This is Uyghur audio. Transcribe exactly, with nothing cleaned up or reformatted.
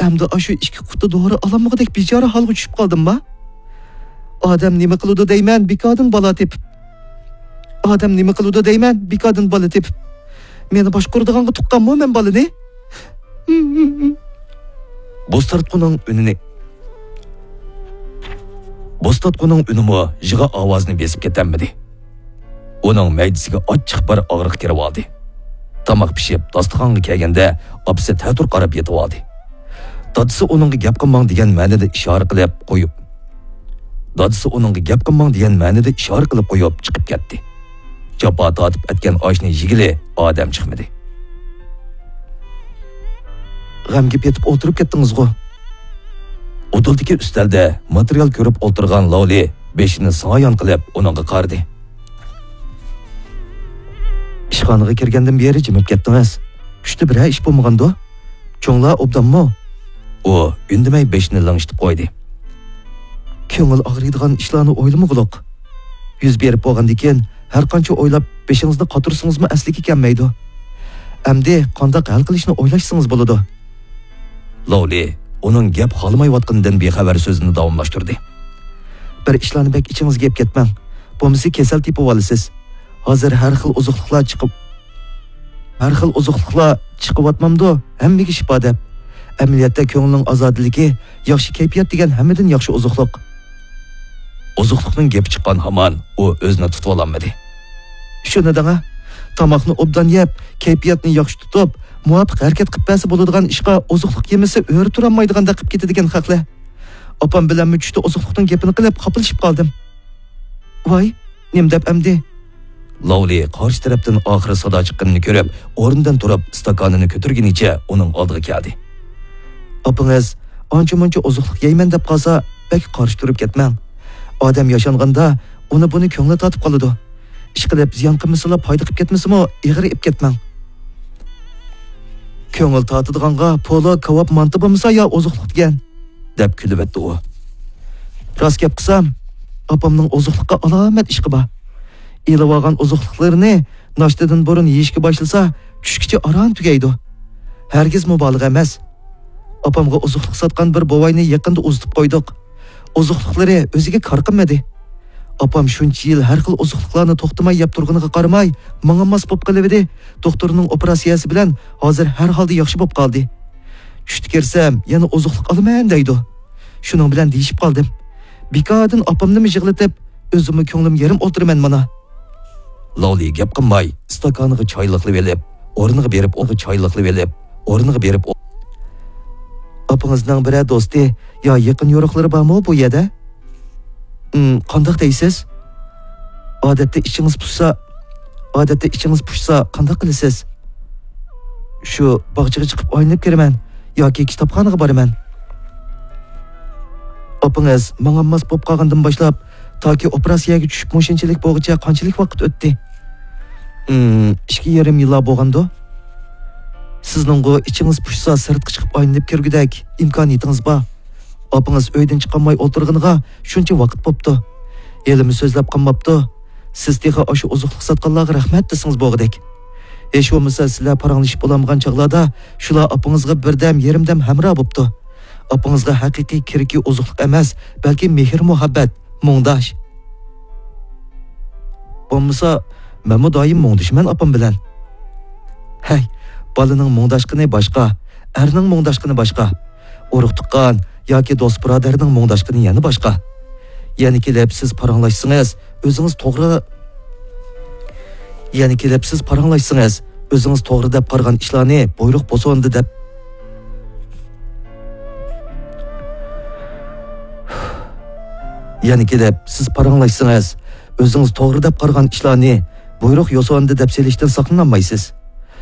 ئەمدى ئاشۇ ئىككى قۇتا دورا ئالالمىغۇدەك بىچارە ھالغا چۈشۈپ قالدىمما؟ ئادەم نېمە قىلىدۇ دەيمەن، بىكاردىن بالا تېپىپ. ئادەم نېمە قىلىدۇ دەيمەن، بىكاردىن بالا تېپىپ. مېنى باشقۇرىدىغانغا تۇغقانمۇ مەن بالىنى؟ بوستارتقۇنىڭ ئۈنىنى. بوستارتقۇنىڭ ئۈنىمۇ يىغا ئاۋازىنى بېسىپ كېتەلمىدى. ئۇنىڭ مەيدىسىگە ئاچچىق بىر ئاغرىق كىرىۋالدى. تاماق پىشىپ، داستىخانغا كەلگەندە، ئاپىسى تەتۈر قاراپ يېتىۋالدى. دادىسى ئۇنىڭغا گەپ قىلماڭ دېگەن مەنىدە ئىشارە قىلىپ قويۇپ، دادىسى ئۇنىڭغا گەپ قىلماڭ دېگەن مەنىدە ئىشارە قىلىپ قويۇپ چىقىپ كەتتى. جاپا تارتىپ ئەتكەن ئاشنى يېگىلى ئادەم چىقمىدى. غەمگە پېتىپ ئولتۇرۇپ كەتتىڭىزغۇ؟ ئۇدۇلدىكى ئۈستەلدە ماتېرىيال كۆرۈپ ئولتۇرغان لاۋلى بېشىنى سايان قىلىپ ئۇنىڭغا قارىدى. ئىشخانىغا كىرگەندىن بېرى جىمىپ كەتتىڭىز. چۈشتە بىرەر ئىش بولمىغاندۇ؟ چوڭلار ئوبدانمۇ؟ ئۇ ئۈندىمەي بېشىنى لىڭشىتىپ قويدى. كۆڭۈل ئاغرىيدىغان ئىشلارنى ئويلىمىغۇلۇق. يۈز بېرىپ بولغاندىن كېيىن، ھەر قانچە ئويلاپ، بېشىڭىزنى قاتۇرسىڭىزمۇ ئەسلىگە كەلمەيدۇ. ئەمدى قانداق ھەل قىلىشنى ئويلاشسىڭىز بولىدۇ. لاۋلى ئۇنىڭ گەپ خالىمايۋاتقىنىدىن بىخەۋەر سۆزىنى داۋاملاشتۇردى. بىر ئىشلارنى بەك ئىچىڭىزگە ئېلىپ كەتمەڭ. بولمىسا كېسەل تېپىۋالىسىز. ھازىر ھەر خىل ئوزۇقلۇقلار چىقىپ، ھەر خىل ئوزۇقلۇقلار چىقىۋاتمامدۇ، ھەممىگە شىپا دەپ. ئەمەلىيەتتە كۆڭۈلنىڭ ئازادىلىكى، ياخشى كەيپىيات دېگەن ھەممىدىن ياخشى ئوزۇقلۇق. ئوزۇقلۇقنىڭ گېپى چىققان ھامان ئۇ ئۆزىنى تۇتۇۋالالمىدى. شۇنى دەڭە، تاماقنى ئوبدان يەپ، كەيپىياتنى ياخشى تۇتۇپ، مۇۋاپىق ھەرىكەت قىلىپ بەرسە بولىدىغان ئىشقا ئوزۇقلۇق يېمىسە ئۆرە تۇرالمايدىغاندەك قىلىپ كېتىدىكەن خەقلەر. ئاپام بىلەنمۇ چۈشتە ئوزۇقلۇقنىڭ گېپىنى قىلىپ خاپىلىشىپ قالدىم. ۋاي، نېمە دەپ ئەمدى؟ لاۋلى قارشى تەرەپتىن ئاخىرى سادا چىققىنىنى كۆرۈپ، ئورنىدىن تۇرۇپ، ئىستاكانىنى كۆتۈرگىنىچە ئۇنىڭ ئالدىغا كەلدى. ئاپىڭىز ئانچە-مۇنچە ئوزۇقلۇق يەيمەن دەپ قالسا، بەك قارشى تۇرۇپ كەتمەڭ. ئادەم ياشانغاندا ئۇنى-بۇنى كۆڭلى تارتىپ قالىدۇ. ئىشقىلىپ، زىيان قىلمىسىلا، پايدا قىلىپ كەتمىسىمۇ، ئېغىر ئېلىپ كەتمەڭ. كۆڭۈل تارتىدىغانغا پولۇ، كاۋاپ، مانتا بولمىسا يا ئوزۇقلۇق دېگەن. دەپ كۈلۈۋەتتى ئۇ. راست گەپ قىلسام، ئاپامنىڭ ئوزۇقلۇققا ئالامەت ئىشقى بار. ئېلىۋالغان ئوزۇقلۇقلىرىنى ناشتىدىن بۇرۇن يېيىشكە باشلىسا، چۈشكىچە ئاران تۈگەيدۇ. ھەرگىز مۇبالىغە ئەمەس. ئاپامغا ئوزۇقلۇق ساتقان بىر بوۋاينى يېقىندا ئۇزىتىپ قويدۇق. ئوزۇقلۇقلىرى ئۆزىگە كار قىلمىدى. ئاپام شۇنچە يىل ھەر خىل ئوزۇقلۇقلارنى توختىماي يەپ تۇرغىنىغا قارىماي، ماڭا ماس بولۇپ قېلىۋىدى، دوختۇرنىڭ ئوپېراتسىيەسى بىلەن ھازىر ھەر ھالدا ياخشى بولۇپ قالدى. چۈشتە كىرسەم، يەنە ئوزۇقلۇق ئالىمەن دەيدۇ. شۇنىڭ بىلەن دېيىشىپ قالدىم. بىكاردىن ئاپامنىمۇ يىغلىتىپ، ئۆزۈممۇ كۆڭلۈم يېرىم ئولتۇرىمەن مانا. لاۋلى گەپ قىلماي، ئىستاكانىغا چاي لىقلىۋېلىپ، ئورنىغا بېرىپ، ئورنىغا چاي لىقلىۋېلىپ، ئورنىغا بېرىپ ئو-، ئاپىڭىزنىڭ بىرەر دوستى يا يېقىن يورۇقلىرى بارمۇ بۇ يەردە؟ ئىم، قانداق دەيسىز؟ ئادەتتە ئىچىڭىز پۇشسا، ئادەتتە ئىچىڭىز پۇشسا قانداق قىلىسىز؟ شۇ باغچىغا چىقىپ ئايلىنىپ كىرىمەن ياكى كىتابخانىغا بارىمەن. ئاپىڭىز ماڭا ماس بولۇپ قالغاندىن باشلاپ، تاكى ئوپېراتسىيەگە چۈشۈپ مۇشۇنچىلىك بولغۇچە قانچىلىك ۋاقىت ئۆتتى؟ ئىم، ئىككى يېرىم يىللار بولغاندۇ؟ سىزنىڭغۇ ئىچىڭىز پۇشسا سىرتقا چىقىپ ئايلىنىپ كىرگۈدەك ئىمكانىيىتىڭىز بار. ئاپىڭىز ئۆيدىن چىقالماي ئولتۇرغىنىغا شۇنچە ۋاقىت بوپتۇ. ھېلىمۇ سۆزلەپ قالماپتۇ. سىز تېخى ئاشۇ ئوزۇقلۇق ساتقانلارغا رەھمەت دېسىڭىز بولغۇدەك. ھېچ بولمىسا سىلەر پاراڭلىشىپ بولالمىغان چاغلاردا شۇلار ئاپىڭىزغا بىردەم، يېرىمدەم ھەمراھ بوپتۇ. ئاپىڭىزغا ھەقىقىي كېرىكى ئوزۇقلۇق ئەمەس، بەلكى مېھىر-مۇھەببەت، مۇڭداش. بولمىسا، مەنمۇ دائىم مۇڭدىشىمەن ئاپام بىلەن. ھەي، بالىنىڭ مۇڭداشقىنى باشقا، ئەرنىڭ مۇڭداشقىنى باشقا. ئۇرۇق-تۇغقان ياكى دوست-بۇرادەرنىڭ مۇڭداشقىنى يەنە باشقا. يەنە كېلىپ سىز پاراڭلاشسىڭىز، ئۆزىڭىز توغرا، يەنە كېلىپ سىز پاراڭلاشسىڭىز، ئۆزىڭىز توغرا دەپ قارىغان ئىشلارنى بۇيرۇق بوسۇندى دەپ، يەنە كېلىپ سىز پاراڭلاشسىڭىز، ئۆزىڭىز توغرا دەپ قارىغان ئىشلارنى بۇيرۇق يوسۇندى دەپ سېلىشتىن ساقلىنالمايسىز.